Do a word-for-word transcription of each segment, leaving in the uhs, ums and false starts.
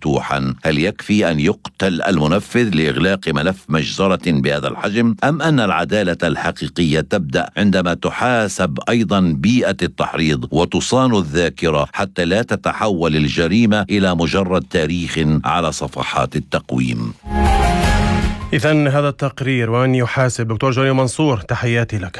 مفتوحا. هل يكفي أن يقتل المنفذ لإغلاق ملف مجزرة بهذا الحجم، أم أن العدالة الحقيقية تبدأ عندما تحاسب أيضا بيئة التحريض وتصان الذاكرة حتى لا تتحول الجريمة إلى مجرد تاريخ على صفحات التقويم؟ إذن هذا التقرير وأن يحاسب. دكتور جوني منصور، تحياتي لك.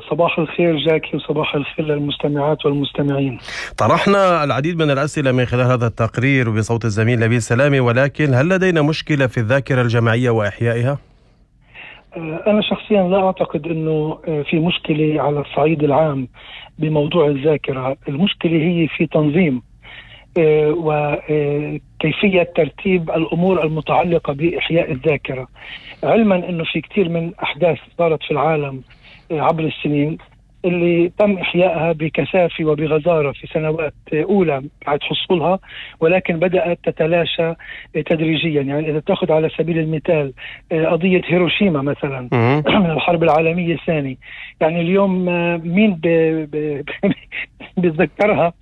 صباح الخير جاكي، وصباح الخير للمستمعات والمستمعين. طرحنا العديد من الأسئلة من خلال هذا التقرير بصوت الزميل نبيل سلامي، ولكن هل لدينا مشكلة في الذاكرة الجماعية وإحيائها؟ أنا شخصيا لا أعتقد أنه في مشكلة على الصعيد العام بموضوع الذاكرة. المشكلة هي في تنظيم وكيفية ترتيب الأمور المتعلقة بإحياء الذاكرة، علما أنه في كثير من أحداث صارت في العالم عبر السنين اللي تم إحيائها بكثافة وبغزارة في سنوات أولى بعد حصولها، ولكن بدأت تتلاشى تدريجيا. يعني إذا تأخذ على سبيل المثال قضية هيروشيما مثلا من الحرب العالمية الثانية، يعني اليوم مين بيتذكرها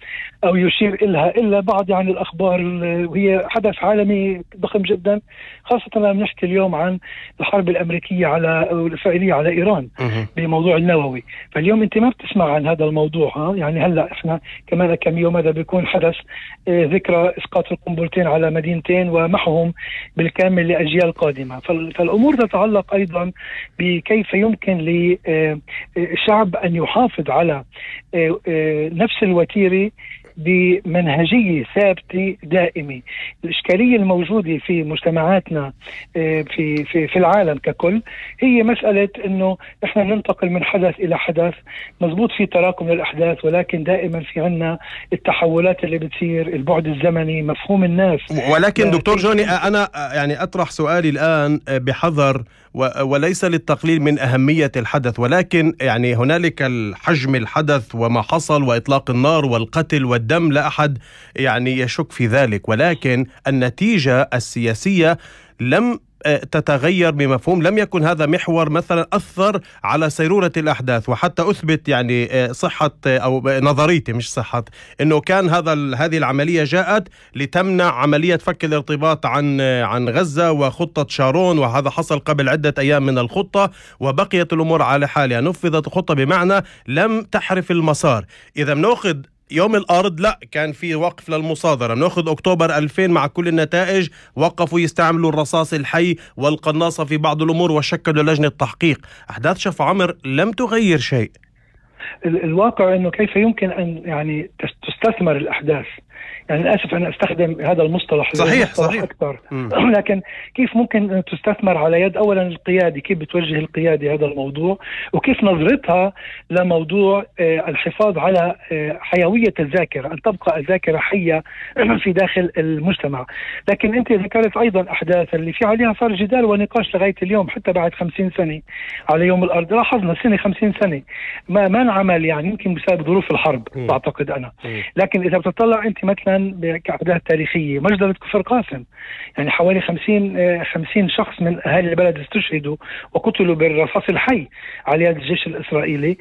أو يشير إلها إلا بعض يعني الأخبار، وهي حدث عالمي ضخم جدا، خاصة لما نحكي اليوم عن الحرب الأمريكية على الإسرائيلية على إيران بموضوع النووي. فاليوم أنت ما بتسمع عن هذا الموضوع. ها يعني هلأ إحنا كمان كم يوم هذا بيكون حدث ذكرى إسقاط القنبلتين على مدينتين ومحهم بالكامل لأجيال قادمة. فالأمور تتعلق أيضا بكيف يمكن للشعب أن يحافظ على نفس الوتيرة بمنهجية ثابتة دائمة. الإشكالية الموجودة في مجتمعاتنا في في في العالم ككل هي مسألة إنه إحنا ننتقل من حدث إلى حدث، مزبوط في تراكم للأحداث، ولكن دائما في عنا التحولات اللي بتصير، البعد الزمني، مفهوم الناس. ولكن دكتور جوني، أنا يعني أطرح سؤالي الآن بحذر وليس للتقليل من أهمية الحدث، ولكن يعني هنالك الحجم الحدث وما حصل وإطلاق النار والقتل والدم، لا أحد يعني يشك في ذلك، ولكن النتيجة السياسية لم تتغير بمفهوم، لم يكن هذا محور مثلا أثر على سيرورة الأحداث. وحتى أثبت يعني صحة أو نظريتي مش صحة إنه كان هذا هذه العملية جاءت لتمنع عملية فك الارتباط عن عن غزة وخطة شارون، وهذا حصل قبل عدة أيام من الخطة، وبقيت الأمور على حالها. نفذت الخطة بمعنى لم تحرف المسار. إذا بنأخذ يوم الأرض لا كان في وقف للمصادرة، نأخذ أكتوبر ألفين مع كل النتائج، وقفوا يستعملوا الرصاص الحي والقناصة في بعض الأمور وشكلوا لجنة تحقيق. أحداث شفا عمر لم تغير شيء. الواقع أنه كيف يمكن أن يعني تستثمر الأحداث. يعني للأسف أنا أستخدم هذا المصطلح صحيح صحيح أكثر لكن كيف ممكن أن تستثمر على يد أولا القيادة، كيف بتوجه القيادة هذا الموضوع، وكيف نظرتها لموضوع الحفاظ على حيوية الذاكرة، أن تبقى الذاكرة حية في داخل المجتمع. لكن أنت ذكرت أيضا أحداث اللي في عليها صار جدال ونقاش لغاية اليوم، حتى بعد خمسين سنة على يوم الأرض. لاحظنا سنة خمسين سنة ما ما نعمل، يعني يمكن بسبب ظروف الحرب أعتقد أنا. لكن إذا بتطلع أنت مثلا كأحداث تاريخية، مجزرة كفر قاسم، يعني حوالي خمسين خمسين شخص من أهالي البلد استشهدوا وقتلوا بالرصاص الحي على يد الجيش الإسرائيلي.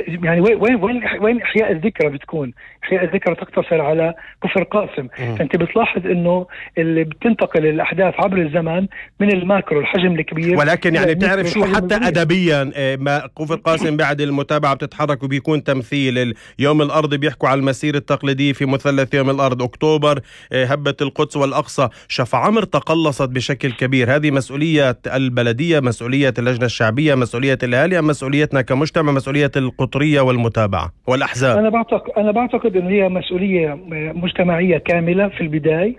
يعني وين وين وين إحياء الذكرى بتكون؟ إحياء الذكرى تقتصر على كفر قاسم. فأنت بتلاحظ إنه اللي بتنتقل الأحداث عبر الزمن من الماكرو الحجم الكبير، ولكن يعني بتعرف شو حتى أدبيا ما كفر قاسم بعد المتابعة بتتحرك وبيكون تمثيل. يوم الأرض بيحكوا على المسير التقليدي في مثلث يوم الأرض، أكتوبر هبة القدس والأقصى. شفا عمر تقلصت بشكل كبير. هذه مسؤولية البلدية، مسؤولية اللجنة الشعبية، مسؤولية الأهالي، أم مسؤوليتنا كمجتمع، مسؤولية القطرية والمتابعة والأحزاب؟ أنا بعتقد أنا بعتقد إن هي مسؤولية مجتمعية كاملة في البداية.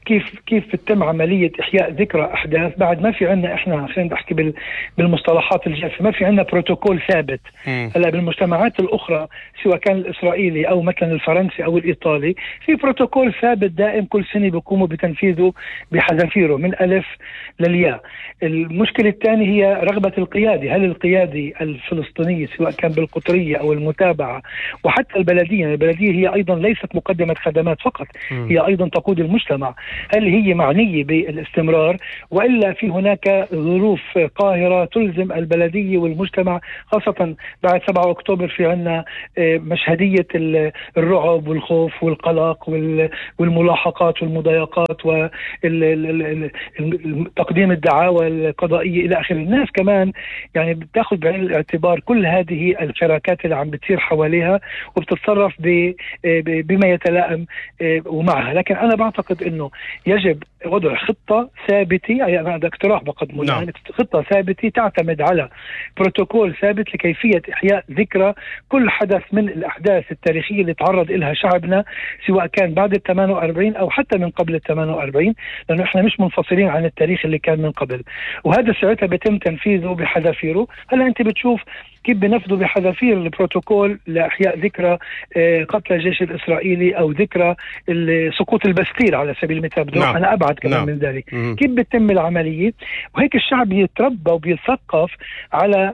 كيف كيف تتم عملية إحياء ذكرى أحداث بعد ما في عنا، إحنا خلينا نحكي بالمصطلحات الجافة، ما في عنا بروتوكول ثابت. هلا بالمجتمعات الأخرى سواء كان الإسرائيلي أو مثلا الفرنسي أو الإيطالي، في بروتوكول ثابت دائم كل سنة بيقوموا بتنفيذه بحذافيره من ألف للياء. المشكلة الثانية هي رغبة القيادة. هل القيادة الفلسطينية سواء كان بالقطرية أو المتابعة وحتى البلدية، البلدية هي أيضا ليست مقدمة خدمات فقط، هي أيضا تقود المجتمع. المجتمع، هل هي معنية بالاستمرار وإلا في هناك ظروف قاهرة تلزم البلدية والمجتمع، خاصة بعد سبعة أكتوبر في عنا مشهدية الرعب والخوف والقلق والملاحقات والمضايقات وتقديم الدعاوى القضائية إلى آخر. الناس كمان يعني بتاخذ بعين الاعتبار كل هذه الحركات اللي عم بتصير حواليها وبتتصرف بما يتلائم ومعها. لكن أنا بعتقد أنه يجب وضع خطة ثابتة، يعني أنا هذا اقتراح بقدمه، نعم. يعني خطة ثابتة تعتمد على بروتوكول ثابت لكيفية إحياء ذكرى كل حدث من الأحداث التاريخية اللي تعرض إلها شعبنا، سواء كان بعد ال ثمانية وأربعين أو حتى من قبل ال ثمانية وأربعين، لأنه إحنا مش منفصلين عن التاريخ اللي كان من قبل، وهذا ساعتها بيتم تنفيذه بحذافيره. هلا أنت بتشوف كيف بنفذوا بحذافير البروتوكول لإحياء ذكرى قتل الجيش الإسرائيلي أو ذكرى سقوط البستيل على سبيل المثال. نعم. أنا أبعد كمان نعم. من ذلك. مم. كيف بتتم العملية؟ وهيك الشعب يتربى وبيثقف على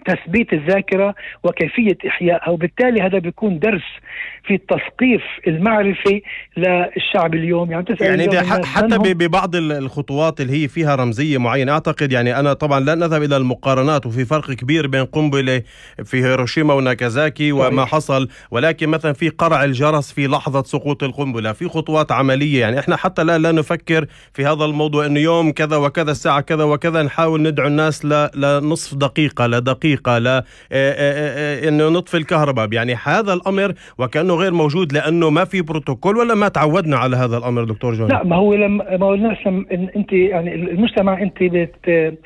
تثبيت الذاكرة وكيفية إحيائها، وبالتالي هذا بيكون درس في التثقيف المعرفي للشعب اليوم. يعني, يعني اليوم حتى ببعض الخطوات اللي هي فيها رمزية معينة، أعتقد يعني أنا طبعا لا نذهب إلى المقارنات، وفي فرق كبير بين قنبلة في هيروشيما وناكازاكي وما حصل، ولكن مثلا في قرع الجرس في لحظة سقوط القنبلة، في خطوات عملية. يعني إحنا حتى لا لا نفكر في هذا الموضوع إنه يوم كذا وكذا الساعة كذا وكذا نحاول ندعو الناس لنصف دقيقة لدقيقة لا انه نطفي الكهرباء. يعني هذا الامر وكانه غير موجود لانه ما في بروتوكول، ولا ما تعودنا على هذا الامر دكتور جوني؟ لا، ما هو لما ما هو الناس انت يعني المجتمع انت بت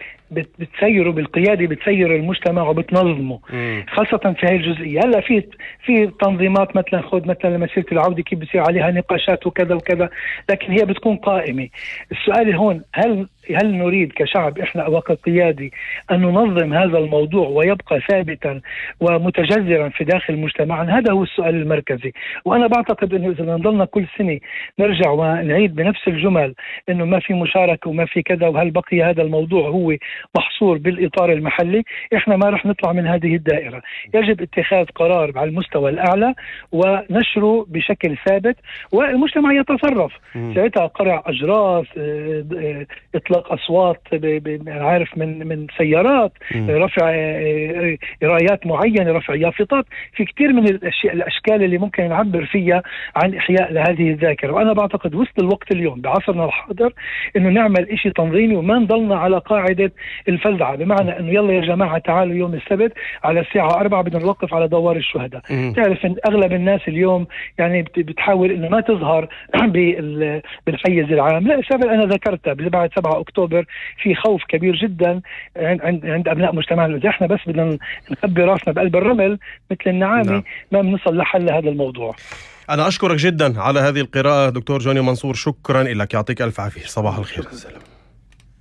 بتسيره بالقيادة، بتسير المجتمع وبتنظمه، مم. خاصة في هذه الجزئية. هلا في في تنظيمات مثلا خذ مثلا مسيرة العودة كيف بصير عليها نقاشات وكذا وكذا، لكن هي بتكون قائمة. السؤال هون هل هل نريد كشعب احنا وكقيادي ان ننظم هذا الموضوع ويبقى ثابتا ومتجذرا في داخل مجتمعنا؟ هذا هو السؤال المركزي. وانا بعتقد انه اذا نضلنا كل سنة نرجع ونعيد بنفس الجمل انه ما في مشاركة وما في كذا، وهل بقي هذا الموضوع هو محصور بالإطار المحلي، إحنا ما رح نطلع من هذه الدائرة. يجب اتخاذ قرار على المستوى الأعلى ونشره بشكل ثابت والمجتمع يتصرف. ساعتها قرع أجراس، إطلاق أصوات عارف من من سيارات، م. رفع رايات معينة، رفع يافطات، في كتير من الأشياء الأشكال اللي ممكن نعبر فيها عن إحياء لهذه الذاكرة. وأنا بعتقد وسط الوقت اليوم بعصرنا الحاضر إنه نعمل إشي تنظيمي وما نضلنا على قاعدة الفزعة، بمعنى انه يلا يا جماعة تعالوا يوم السبت على الساعة أربعة بدنا نوقف على دوار الشهداء. تعرف ان اغلب الناس اليوم يعني بتحاول انه ما تظهر بالحيز العام. لا، السبب انا ذكرتها بعد سبعة أكتوبر في خوف كبير جدا عند عند ابناء مجتمعنا. اذا احنا بس بدنا نخبي راسنا بقلب الرمل مثل النعامة ما بنصل لحل هذا الموضوع. أنا أشكرك جدا على هذه القراءة دكتور جوني منصور، شكرا لك، يعطيك ألف عافية، صباح الخير.